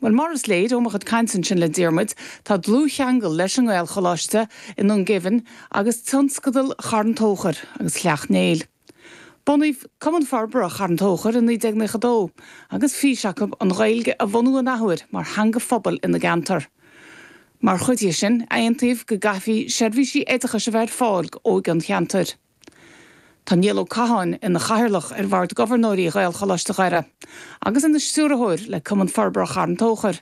Bhuel, mar is léir ó mo chuid cainte ansin le Diarmuid, tá dlúthcheangal leis an nGaelcholáiste i nDún Geimhin agus tionscadal Charn Tóchair agus Shleacht Néill. Bunaíodh Cumann Forbartha Charn Tóchair i 1992 agus fís acu an Ghaeilge a bhunú an athuair mar theanga phobail ina gceantar. Mar chuid dhe sin, aontaíodh go gcaithfí seirbhísí oideachais a bheith ar fáil d'óige an cheantair. Tá Niall Ó Catháin ina chathaoirleach ar Bhord Gobharnóirí Ghaelcholáiste Dhoire agus ina stiúrthóir le Cumann Forbartha Charn Tóchair.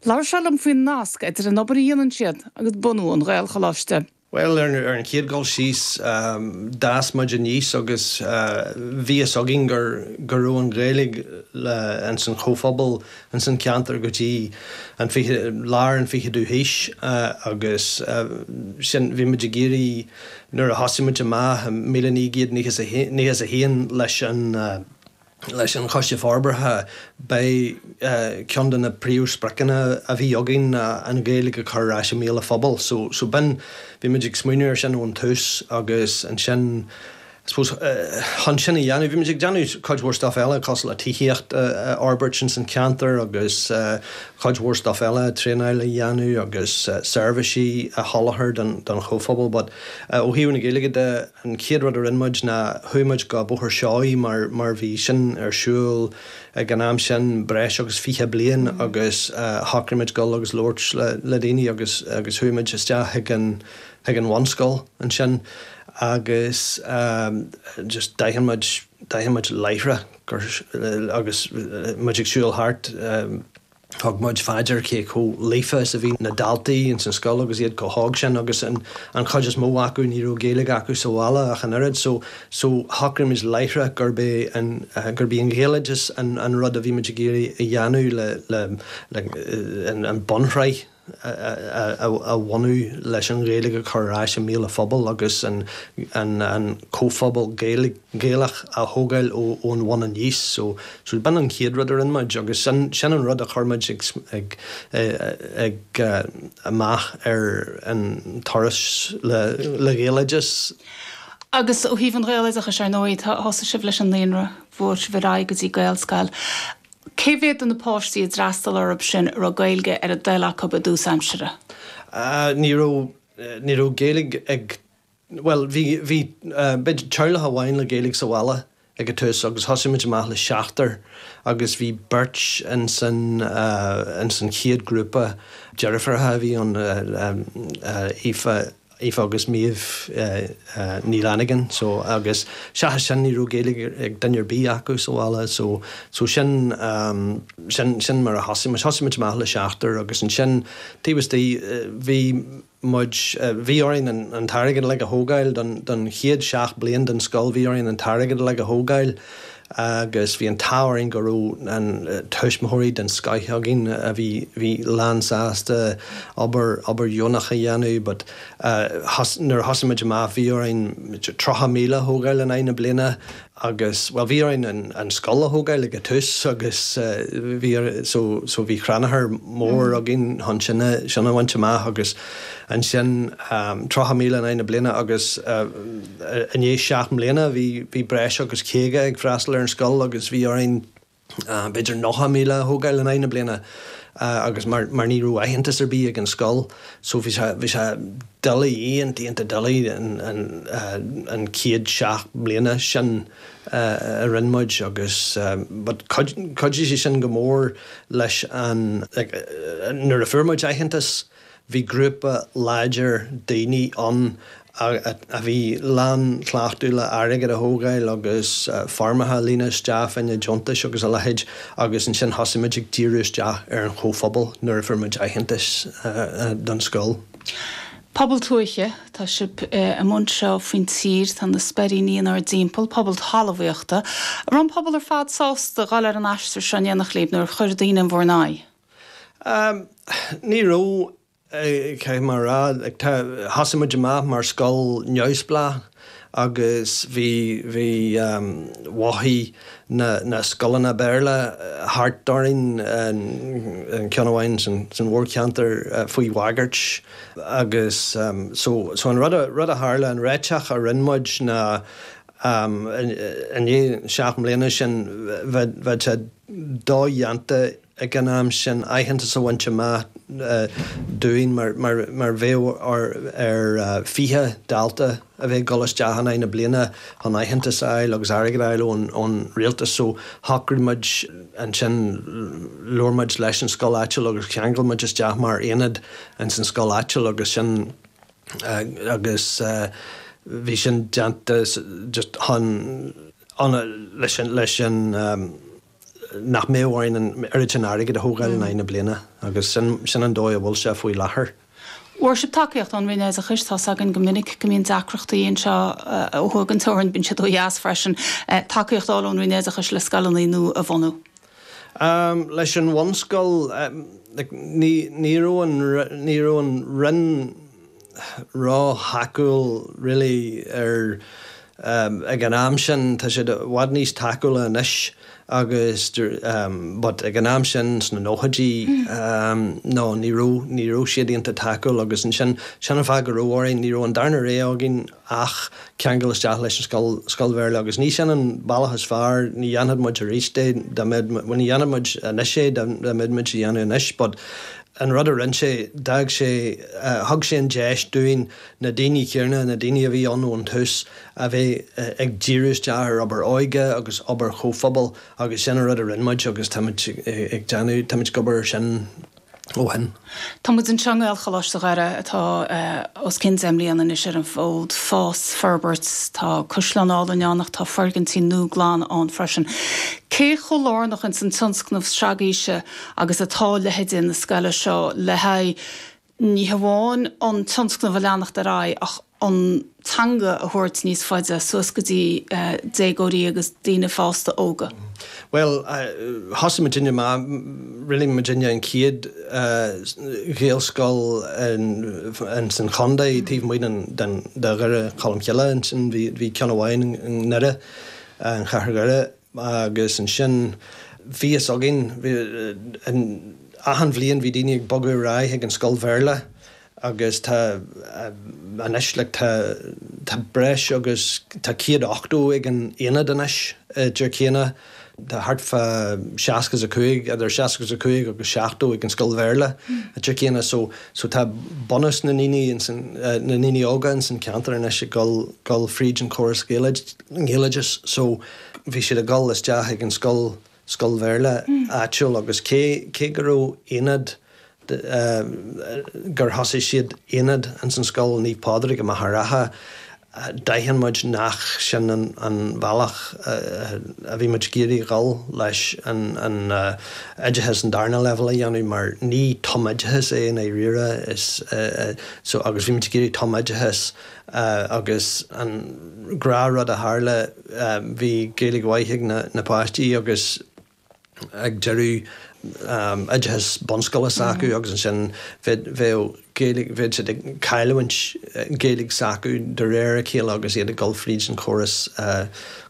Labhair sé liom faoin nasc idir an obair a dhéanann siad agus bunú an Ghaelcholáiste. Bhuel, ar an chéad dul síos, d'fhás muid aníos agus bhí fhios againn go raibh an Ghaeilge ins an chomhphobal, ins an cheantar go dtí an fiche, lár an fichiú haois agus sin, bhí muid ag iarraidh, nuair a thosaigh muid amach i 1991 leis an, Leis an Choiste Forbartha, b'é ceann de na príomhspriocanna a bhí againn ná an Ghaeilge a chur ar ais i mbéal an phobail. So, so b'in, bhí muid ag smaoineamh air sin ón tús agus ansin, I suppose, chun sin a dhéanamh, bhí muid ag déanamh cuid mhór stuff eile cosúil le tithíocht a fhorbairt ins an cheantar agus cuid mhór stuff eile, traenáil a dhéanamh agus seirbhísí a sholáthar don chomhphobal but ó thaobh na Gaeilge de, An chéad rud a rinne muid ná chuaigh muid go Bóthar Seoighe mar mar bhí sin ar siúl ag an am sin breis agus 20 bliain agus shocraigh muid dul agus labhairt le le daoine agus agus chuaigh muid isteach chuig an chuig an bhunscoil ansin agus just d'aithin muid d'aithin muid láithreach gur agus muid ag siúl thart Thug muid fá dear cé chomh líofa is a bhí na daltaí ins an scoil agus iad chomh hóg sin agus an chuid is mó acu ní raibh Gaeilge acu sa bhaile ach an oiread so so shocraigh muid láithreach gurb é an gurb í an Ghaeloideachas an an rud a bhí muid ag iarraidh a dhéanamh le le le an bunshraith a bhunú leis an Ghaeilge a chur ar ais i mbéal an phobail agus an comhphobal Gaelach a thógáil ón bhun aníos. So b'in an chéad rud a rinne muid agus sin sin an rud a chuir muid ag ag amach ar an turas le Gaeloideachas. Agus ó thaobh an Ghaeloideachais, ar ndóigh, thosaigh sibh leis an naíonra, bhog sibh ar aghaidh go dtí Gaelscoil. Cé mhéad de na páistí a d'fhreastail orthu sin a raibh Gaeilge ar a dtoil acu i dtús aimsire? Ní raibh, ní raibh Gaeilge ag, bhuel, bhí, bhí, b'fhéidir teaghlach amháin le Gaeilge sa bhaile ag an tús agus thosaigh muid amach le seachtar agus bhí beirt ins an, ins an chéad ghrúpa, deirfiúracha a bhí ann, Aoife, Aoife agus Méabh Ní Fhlannagáin so agus seachas sin ní raibh Gaeilge ag duine ar bith acu sa bhaile so so sin sin sin mar a thosaigh muid. Thosaigh muid amach le seachtar agus ansin taobh istigh bhí muid bhí orainn an an t-airgead uilig a thógáil don don chéad seacht bliain den scoil bhí orainn an t-airgead uilig a thógáil agus bhí an t-ádh orainn go raibh an tuismitheoirí den scoith againn a bhí bhí lán sásta obair obair dheonach a dhéanamh but nuair a thosaigh muid amach bhí orainn 30,000 a thógáil in aghaidh na bliana agus bhuel bhí orainn an an scoil a thógáil ag an tús agus bhí so so bhí crannchur mór againn chun sin a sin a bhaint amach agus ansin 30,000 in aghaidh na bliana agus I ndiaidh 7 mbliana bhí breis agus 50 ag freastal ar an scoil agus bhí orainn b'fhéidir 90,000 a thógáil in aghaidh na bliana agus mar mar ní raibh aitheantas ar bith ag an scoil so bhí sé bhí sé doiligh, iontach iontach doiligh an an an chéad 7 mbliana sin a rinne muid agus but chuidigh sé sin go mór leis an like nuair a fuair muid aitheantas Bhí grúpa láidir daoine ann a bhí lán cleachtadh le airgead a thógáil agus foirmeacha a líonadh isteach fá choinne deontais agus a leithéid agus ansin thosaigh muid ag díriú isteach ar an chomhphobal nuair a fuair muid aitheantas don scoil. Pobal tuaithe, tá sibh i mbun seo faoin tír, tá na Speiríní inár dtimpeall, pobal talmhaíochta. An raibh an pobal ar fad sásta dhul ar an aistear seo in éineacht libh nó ar chuir daoine in bhur n-aghaidh? Ní raibh, caithfidh mé a rá. Thosaigh muid amach mar scoil neamhspleách agus bhí, bhí, mhothaigh na, na scoileanna Béarla thart orainn, an ceann amháin san mhórcheantar faoi bhagairt agus so, so an rud a, rud a tharla, an réiteach a rinne muid ná i ndiaidh 7 mbliana sin bheadh, bheadh sé dodhéanta. ag an am sin aitheantas a bhaint amach dúinn mar bheadh ar 20 dalta a bheith ag dul isteach in aghaidh na bliana chun aitheantas a fháil agus airgead a fháil ón rialtas so shocraigh muid ansin labhair muid leis an scoil áitiúil agus cheangail muid isteach mar aonad ins an scoil áitiúil agus sin agus bhí sin déanta just chun leis an leis an nach mbeadh orainn an oiread sin airgid a thógáil in aghaidh na bliana agus sin sin an dóigh a bhfuil sé faoi láthair. Bhfuair sibh tacaíocht ón Roinn Oideachais, tá's againn go minic go mbíonn deacrachtaí anseo ó thuaidh den teorainn, bíonn siad ó dheas freisin, tacaíocht a fháil ón Roinn Oideachais le scoileanna nua a bhunú. Leis an bhunscoil, ní ní raibh an ní raibh an Roinn ró-thacúil really ar ag an am sin, tá siad i bhfad níos tacúla anois agus but ag an am sin sna nóchaidí no ní raibh, ní raibh siad iontach tacúil agus ansin, sin an fáth go raibh orainn, ní raibh an darna rogha againn ach ceangal isteach leis an scoil, scoil Bhéarla agus ní sin an bealach is fearr, ní dhéanfadh muid arís é dá mbeadh, bhuel ní dhéanfadh muid anois é dá mbeadh muid á dhéanamh anois but an rud a rinne sé, d'fhág sé, thug sé an deis dúinn na daoine céanna, na daoine a bhí ann ón tús, a bheith ag díriú isteach ar obair óige agus obair chomhphobail agus sin an rud a rinne muid agus táimid ag déanamh, táimid ag obair ar sin ó shin. Tá muid anseo i nGaelcholáiste Dhoire atá os cionn 10 mbliana anois ar an bhfód, fás, forbairt, tá caisleán álainn ann ach tá foirgintí nua glana ann freisin. Cé chomh lárnach ins an tionscnamh sragaoise agus atá leithéidí na scoile seo le haghaidh ní hamháin an tionscnamh a leanacht ar aghaidh ach an teanga a thabhairt níos faide suas go dtí déagóirí agus daoine fásta óga. Bhuel, thosaigh muidinne amach, really muidinne an chéad Ghaelscoil ins an chontae taobh amuigh de Dhoire Cholmcille ansin, bhí ceann amháin i nDoire, an Chathair Dhoire. Agus ansin bhí fhios againn, achan bhliain bhí daoine ag bogadh ar aghaidh chuig an scoil Bhéarla agus tá anois like tá tá breis agus tá 180 ag an aonad anois i dTír Céanna, tá thart fá 65, idir 65 agus 70 ag an scoil Bhéarla i dTír Céanna so so tá bunús na ndaoine ins an na ndaoine óga ins an ceantar anois ag dul dul fríd an chóras Gaeloideachas so Bhí siad ag dul isteach ag an scoil, scoil Bhéarla áitiúil agus cé, cé go raibh aonad, gur thosaigh siad aonad ins an scoil Naomh Pádraig i Machaire Rátha, d'aithin muid nach sin an, an bhealach a bhí muid ag iarraidh dhul leis an, an oideachas an darna leibhéal a dhéanamh mar ní tumoideachas é i ndáiríre is so agus bhí muid ag iarraidh tumoideachas agus an gnáthrud a tharla, bhí Gaeilge mhaith ag na páistí agus ag deireadh oideachas bunscoile s'acu agus ansin bheadh Gaeilge, bheadh siad ag cailliúint Gaeilge s'acu de réir a chéile agus iad ag dul fríd an chóras,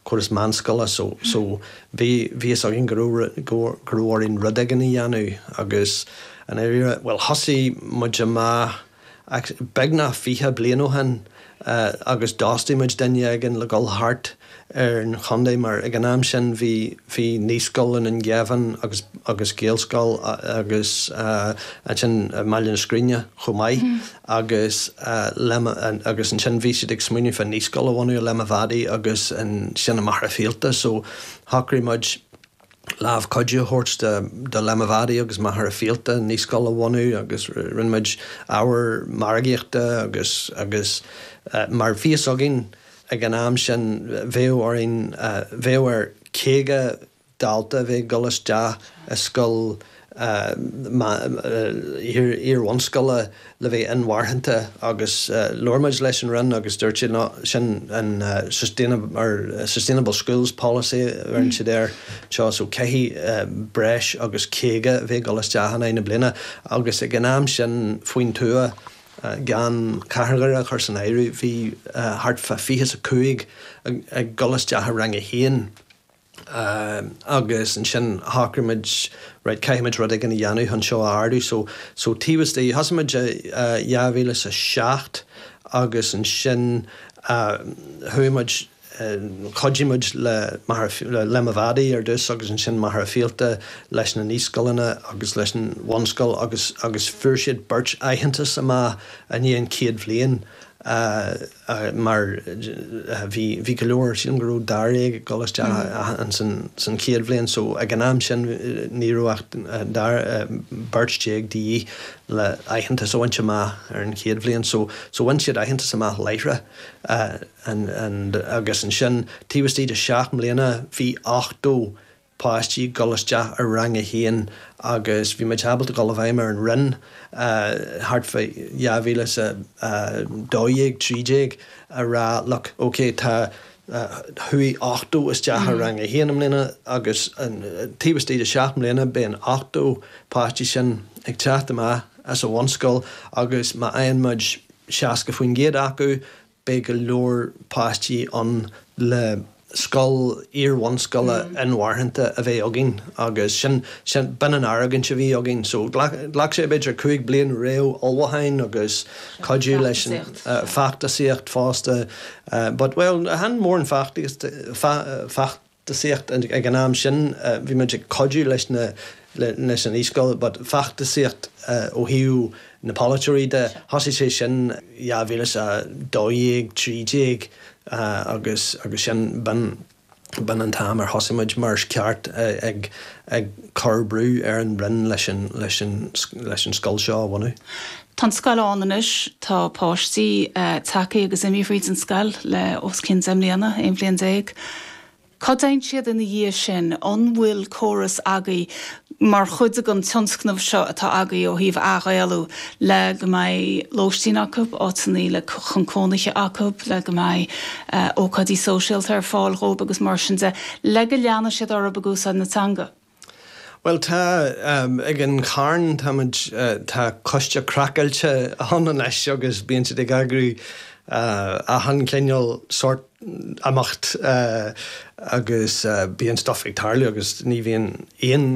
córas meánscoile so, so bhí, bhí fhios againn go raibh, go raibh orainn rud éigin a dhéanamh agus i ndáiríre, bhuel thosaigh muid amach, Ach beagnach 20 bliain ó shin agus d'fhostaigh muid duine éigin le dhul thart ar an chontae mar ag an am sin bhí bhí naíscoil i nDún Geimhin agus agus Gaelscoil agus ansin i mBaile na Scríne chomh maith agus le agus ansin bhí siad ag smaoineamh fá naíscoil a bhunú i Limavady agus ansin i Machaire Fíolta so shocraigh muid lámh cuidiú a thabhairt do Limavady agus Machaire Fíolta naíscoil a bhunú agus rinne muid ábhar margaíochta agus agus mar bhí fhios againn ag an am sin bheadh orainn bheadh ar 50 dalta a bheith ag dul isteach i scoil iar-bhunscoile le bheith inmharthanta agus labhair muid leis an Roinn agus dúirt siad no sin an Sustainable Schools Policy a bheireann siad air seo so caithfidh breis agus 50 a bheith ag dul isteach in aghaidh na bliana agus ag an am sin faoin tuath gan Cathair Dhoire a chur san áireamh bhí thart fá 25 ag dul isteach i rang a haon. Agus ansin shocraigh muid, right, caithfidh muid rud éigin a dhéanamh chun seo a ardú. So, so taobh istigh, thosaigh muid i 2007 agus ansin chuaigh muid Chuidigh muid le Machaire, le Limavady ar dtús agus ansin Machaire Fíolta leis na naíscoileanna agus leis an bhunscoil agus agus fuair siad beirt aitheantas amach i ndiaidh an chéad bhliain mar bhí bhí go leor, sílim go raibh dáréag ag dul isteach ansan san chéad bhliain so ag an am sin ní raibh ach beirt déag de dhíth le aitheantas a bhaint amach ar an chéad bhliain so so bhain siad aitheantas amach láithreach agus ansin taobh istigh de sheacht mbliana bhí 80 páistí ag dul isteach i rang a haon agus bhí muid ábalta dul i bhfeidhm ar an Roinn thart fá 2012, 13 a rá look ok tá chuaigh 80 isteach i rang a haon i mbliana agus taobh istigh de sheacht mbliana beidh an 80 páistí sin ag teacht amach as an bhunscoil agus má fhaigheann muid 60% acu beidh go leor páistí ann le scoil iar-bhunscoile inmharthanta a bheith againn agus sin, sin, b'in an argóint a bhí againn. So ghlac, ghlac sé b'fhéidir 5 bliain réamh-ullmhúcháin agus cuidiú leis an feachtasaíocht fosta but, well, chan mórán feachtasaíocht, feachtasaíocht ag an am sin, bhí muid ag cuidiú leis na leis an naíscoil but feachtasaíocht ó thaobh na polaiteoirí de, thosaigh sé sin 2012, 13 agus agus sin b'in b'in an t-am ar thosaigh muid mar is ceart ag ag cur brú ar an Roinn leis an leis an leis an scoil seo a bhunú. Tá an scoil ann anois, tá páistí tagtha agus imithe fríd an scoil le os cionn 10 mbliana, 11 bhliain. Cá dtéann siad ina dhiaidh sin? An bhfuil córas agaibh mar chuid den tionscnamh seo atá agaibh ó thaobh athghaelú le go mbeidh lóistín acu, áiteanna le chun cónaithe acu, le go mbeidh ócáidí sóisialta ar fáil dhóibh agus mar sin de, le go leanfaidh siad orthu ag úsáid na teanga? Bhuel tá, ag an Charn táimid, tá coiste craiceáilte ann anois agus bíonn siad ag eagrú achan chineál sórt imeacht agus bíonn stuff ag tarlú agus ní bhíonn aon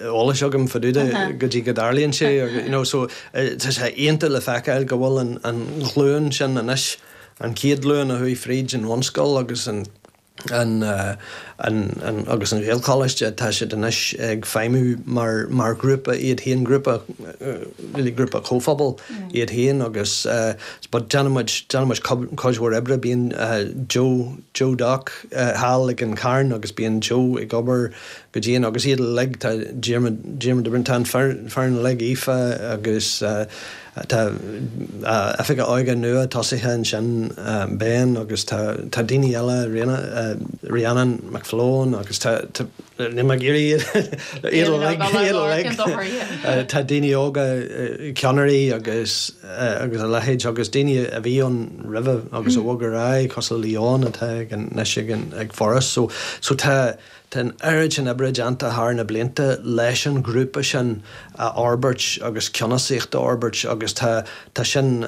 eolais agam fá dtaobh de go dtí go dtarlaíonn sé you know so tá sé iontach le feiceáil go bhfuil an an ghlúin sin anois, an chéad ghlúin a chuaigh fríd an bhunscoil agus an an an agus an Ghaelcholáiste, tá siad anois ag feidhmiú mar mar ghrúpa iad féin, grúpa really grúpa comhphobail iad féin agus but déanann muid déanann muid cuid mhór oibre, bíonn Joe Joe Doc thall ag an Charn agus bíonn Joe ag obair go dian agus iad uilig, tá Diarmuid Diarmuid de Brún, tá an foireann uilig, Aoife agus Tá oifigeach óige nua tosaithe ansin, Ben, agus tá daoine eile, Rhiannon McFlone agus tá, níl mé ag iarraidh iad uilig, tá daoine óga, ceannairí agus agus a leithéid agus daoine a bhí ann roimhe agus a bhog ar aghaidh cosúil le Leon atá anois ag Foras. So tá Tá an oiread sin oibre déanta thar na blianta leis an ghrúpa sin a fhorbairt agus ceannasaíocht a fhorbairt agus tá tá sin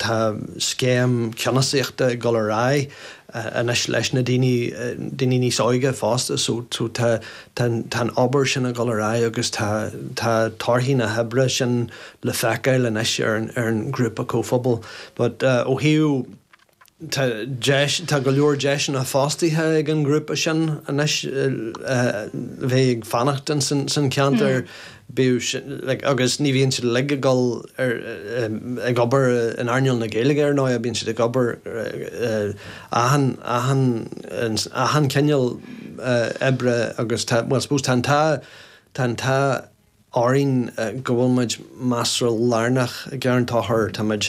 tá scéim ceannasaíochta ag dul ar aghaidh anois leis na daoine daoine níos óige fosta so so tá tá tá an obair sin ag dul ar aghaidh agus tá tá torthaí na hoibre sin le feiceáil anois ar an ar an ghrúpa comhphobail. But ó thaobh Tá deis, tá go leor deiseanna fostaithe ag an ngrúpa sin anois bheith ag fanacht in san ceantar, bíodh sin, like, agus ní bhíonn siad uilig ag dul ar, ag obair in earnáil na Gaeilge ar ndóigh, bíonn siad ag obair achan, achan, achan cineál oibre agus tá, well, suppose tá an t-ádh, tá an t-ádh orainn go bhfuil muid measartha lárnach i gCarn Tóchair. Tá muid,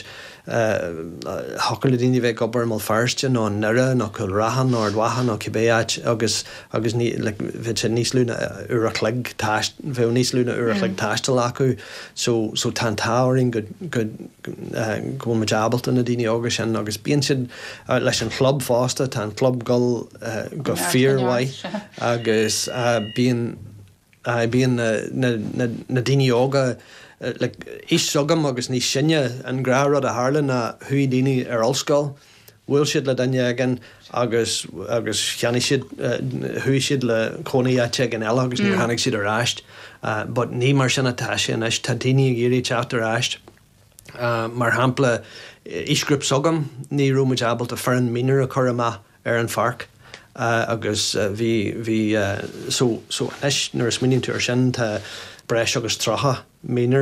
thiocfadh le daoine a bheith ag obair i mBéal Feirste nó i nDoire nó Cúil Raithin nó Ard Mhacha nó cibé áit agus agus ní like bheadh sé níos lú ná uair a chloig taist bheadh níos lú ná uair a chloig taistil acu so so tá an t-ádh orainn go go go bhfuil muid ábalta na daoine óga sin agus bíonn siad leis an chlub fosta tá an club dul go fíormhaith agus bíonn Aye, bíonn na daoine óga, like, aois s'agam agus níos sine, an gnáthrud a tharla ná chuaigh daoine ar ollscoil, bhuail siad le duine éigin agus, agus cheannaigh siad, chuaigh siad le cónaí áit éigin eile agus níor tháinig siad ar ais. But ní mar sin atá sé anois, tá daoine ag iarraidh teacht ar ais. Mar shampla, aoisghrúpa s'agam, ní raibh muid ábalta foireann mionúr a chur amach ar an pháirc. Agus bhí, bhí, so, so anois nuair a smaoiníonn tú ar sin tá breis agus 30 míner.